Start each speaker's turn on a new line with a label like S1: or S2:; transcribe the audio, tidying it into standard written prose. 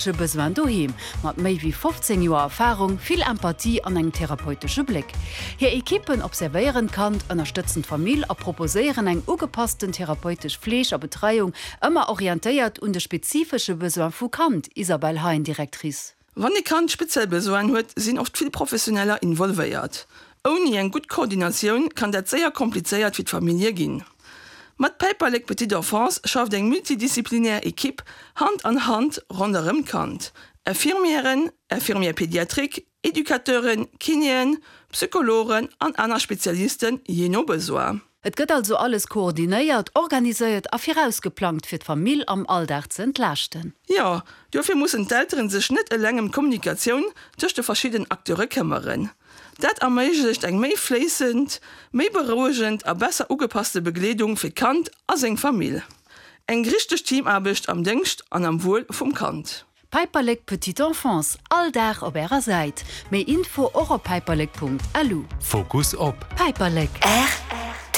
S1: Besoin doheem, mat méi wéi 15 Joer Erfarung, vill Empathie an engem therapeutesche Bléck. Hir Ekippen observéieren d'Kand, ënnerstëtzen d'Famill a proposéieren eng ugepassten therapeutesch Fleeg a Betreiung, ëmmer orientéiert un de spezifesche Besoin vu Kand, Isabelle Hein, Directrice.
S2: Wann e Kand speziell Besoinen huet, sinn oft vill Professioneller involvéiert. Ouni eng gutt Koordinatioun kann dat séier komplizéiert fir d'Famillje ginn. Mat Päiperlek Petite Enfance schafft eng multidisziplinär Ekipp Hand an Hand ronderëm d'Kand, Infirmièren, Infirmières pédiatriques, Educateuren, Kinéen, Psychologen an aner Spezialisten, jee no Besoin.
S1: Et gëtt also alles koordinéiert, organiséiert a virausgeplangt, fir d'Famill am Alldag ze entlaaschten.
S2: Jo, dofir mussen d'Elteren sech net eleng ëm d'Kommunikatioun tëscht de verschidden Acteure këmmeren. Dat erméiglecht eng méi fléissend, méi berouegend a besser ugepasste Begleedung fir d'Kand a seng Famill. Eng richteg Teamaarbecht am Déngscht an am Wuel vum Kand.
S1: Päiperlek Petite Enfance, all Dag op ärer Säit. Méi Info och op päiperlek.lu.
S3: Fokus op.
S1: Päiperlek.